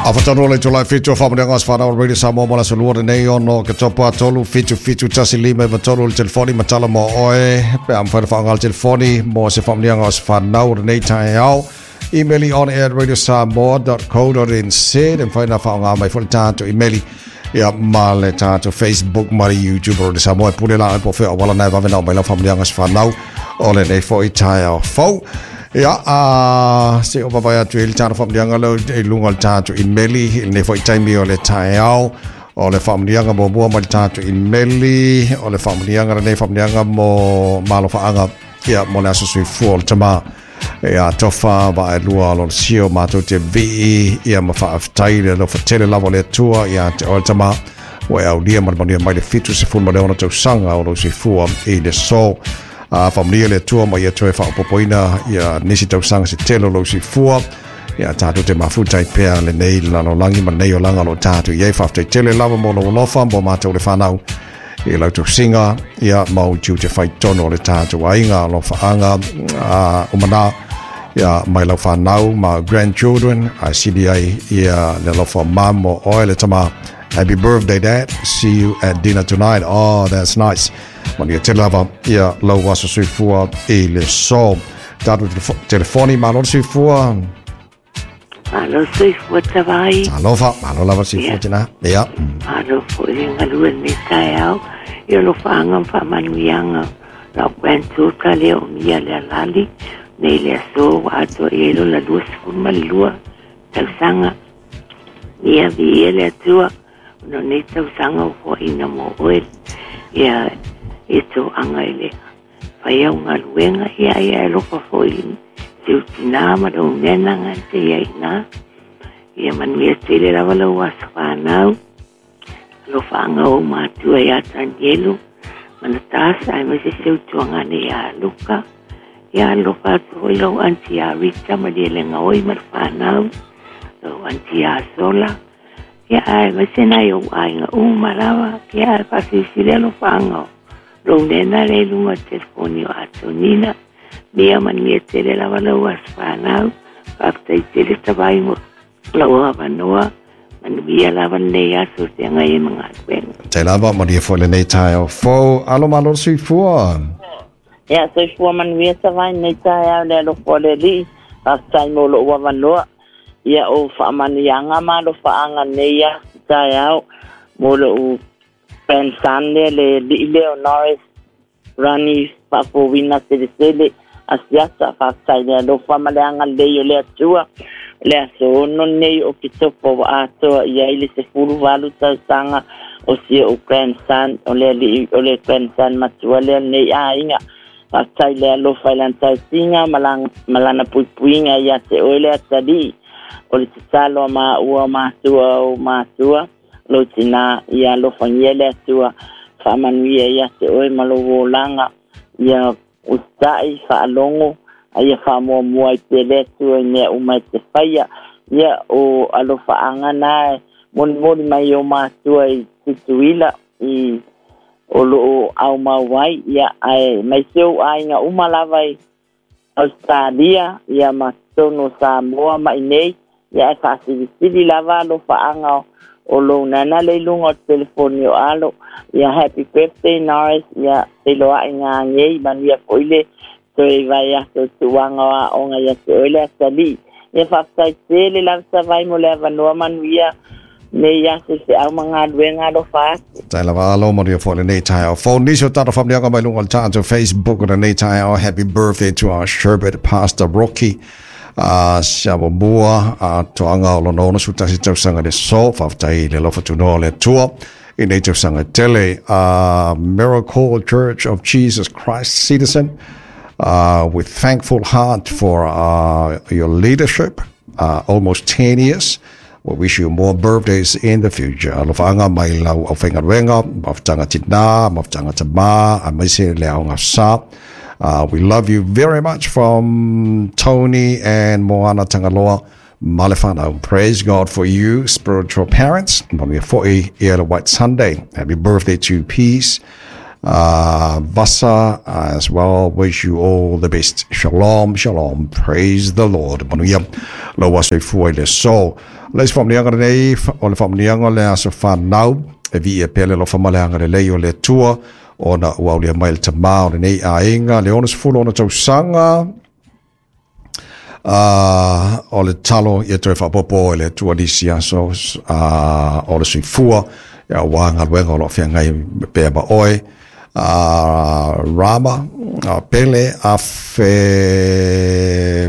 Afatanu le itula e 7 o faamanuiaga o aso fanau o le Radio Samoa mo le aso Lua lenei 6 Oketopa 3 7 7 1 5 9 3 le telefoni ma tala mo oe pe a mafai ona faaaoga le telefoni mo se faamanuiaga o aso fanau o lenei taeao. Email i on air radiosamoa.co.nz e mafai ona faaaoga mai foi le tatou email ia ma le tatou Facebook ma le YouTube o Radio Samoa e pule la po fea auala na e vave na oo mai lau faamanuiaga o aso fanau o lenei foi taeao fou. Ia, a se o vavae atu i le tatou faamanuiaga leo i luga o le tatou imeli i lenei foi taimi o le taeao. O le faamanuiaga muamua mai le tatou imeli, o le faamanuiaga lenei faamanuiaga mo malofaaga, ia, mo le aso soifua o le tama. Ia, tofa vaelua o lolosio matou te vii, ia ma faafetai le alofa tele lava o le Atua ia te oe le tama. Ua e aulia ma le manuia mai le 76 tausaga o lou soifua i le so. A faamanuia le Atua ma ia toe faaopoopoina ia nisi tausaga se tele o lou soifua. Ia tatou te mafuta ai pea lenei lalolagi ma lenei olaga o lo o tatou i ai. Faafetai tele lava mo lou alofa mo matou le whanau i lau tausiga ia ma ou tiute fai tonu o le tatou aiga alofaaga umana ia mai lau whanau ma grandchildren a sili ai ia le alofa mamo oe le tama. Happy birthday, Dad. See you at dinner tonight. Oh, that's nice. Manuia tele lava ia lau aso soifua i le so. Tatou telefoni, malo le soifua. Malo soifua Tavai. Alofa, malo lava soifua Ia. tina. Ia. Malo foi le galue lenei taeao. Ia alofaaga ma faamanuiaga lau granddaughter lea o Mia Lealali nei le aso ua atoa i ai lona 22 tausaga. Ia viia le Atua ona o nei tausaga ua foaiina mo oe ia e toaga i le fai au galuega ia ia e alofa foi i si ou tinā ma lou nena ga te ia ina. Ia manuia tele lava lau aso fanau. Alofaaga o ou matua ia Tanielu ma Natasha aemaise si ou tuagane ia Luka. Ia alofa atu foi lau aunty ia Rita ma Lielega oi ma le fanau, lau aunty ia Sola. Ia aemaise nai ou aiga uma lava. Ia ae faasilisili alofaaga o lou nena le i luga o le telefoni o Atonina. Mia manuia tele lava lau aso fanau. Faafetai tele Tavai mo lau avanoa. Manuia lava lenei aso o feagai ai ma galuega. Te lava, manuia foi lenei taeao fou. Alo malo le soifua. Ia, soifua manuia Tavai lenei taeao i le alofa o le Alii. Faafetai mo lou avanoa. Ia, o faamanuiaga ma alofaaga nei aso taeao mo lou grandson lea, le alii lea o Norris Rani Faafouina Selesele Asiata. Faafetai i le alofa ma le agalelei o le Atua. O le aso 6 lenei o Oketopa ua atoa i ai le 18 tausaga o si ou grandson, o le alii, o le grandson matua lea o lenei aiga. Faafetai i le alofa i lana tausiga ma lana, ma lana puipuiga ia te oe le atalii. O le tatalo a maua o matua o matua, lou tinā, ia alofagia le Atua, faamanuia ia te oe ma lou olaga, ia usitai, faalogo, a ia faamuamua ai pea le Atua i mea uma e te faia. Ia, o alofaaga na e molimoli mai o matua i Tutuila, i o loo aumau ai, ia, ae mai se ou aiga uma lava i Ausetalia, ia, ma totonu o Samoa ma inei, ia, ae faasilisili lava alofaaga o lou nana le i luga o le telefoni o Alo. Ia, happy birthday Norris, ia, feiloai gagei, manuia foi le toe vaiaso o tuuaga o aoga ia te oe le atalii. Ia faafetai tele lava Savai mo le avanoa manuia nei aso i feau ma galuega alofa atu. Tai lava alo manuia foi lenei taeao fou. Nisi o tatou faamanuiaga mai luga o le tatou Facebook o lenei taeao. Happy birthday to our sherbet Pastor Rocky. Siamamua a toaga o lona 61 tausaga i le aso. Faafetai i le alofa tunoa o le Atua i nei tausaga tele. Miracle Church of Jesus Christ Citizen, with thankful heart for your leadership, almost 10 years. We wish you more birthdays in the future. Alofaaga mai lau aufaigaluega, mafutaga tina, mafutaga tama, aemaise le aoga sa. We love you very much from Tony and Moana Tangaloa Malefana. Praise God for you, spiritual parents. Manuia foi ia le White Sunday. Happy birthday to Peace. Vasa as well. Wish you all the best. Shalom, shalom. Praise the Lord. Manuia lau aso soifua i le aso. Le isi faamanuiaga lenei, o le faamanuiaga o le aso fanau, e viia pea le alofa ma le agalelei o le Atua, ona ua aulia mai le tamā o lenei aiga, le 66 tausaga, o le talo ia toe faaopoopo e le Atua nisi aso o le soifua, aua galuega o lo o feagai pea ma oe. Rama, Pele, Afe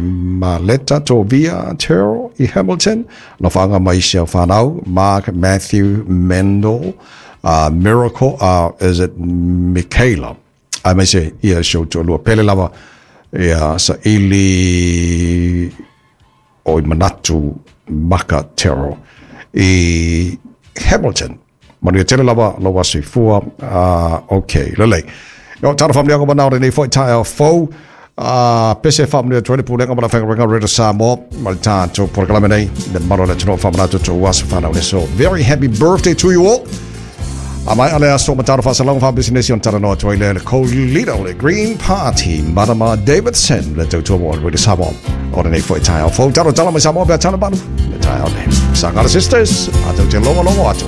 Maleta, Tovia, Terrell i Hamilton, Lofanga ma isi au whanau, Mark, Matthew, Mendel, Miracle, is it Michaela? Ai mai se ia si ou toalua. Pele lava, ia sa ili o i manatu maka Terrell i Hamilton. Manuia tele lava lou aso soifua. Ok, lelei. Yo, tala faamanuiaga manao lenei foi taeao fou. Pese faamanuia atu ai le pulega ma le aufaigaluega Radio Samoa ma le tatou polokalame nei le mamalu o le atunuu faamanatu tou aso fanau le aso. Very happy birthday to you all. A mai ale aso mataro faasalaga faapisinisi ona talanoa atu ai lea le co-leader o le Green Party, Madama Davidson, le tautua mo Radio Samoa. O lenei foi taeao fou. Talo tala mai Samoa pe a tala malu. Le taeao nei. Sagala Sisters, a tau te logologo atu.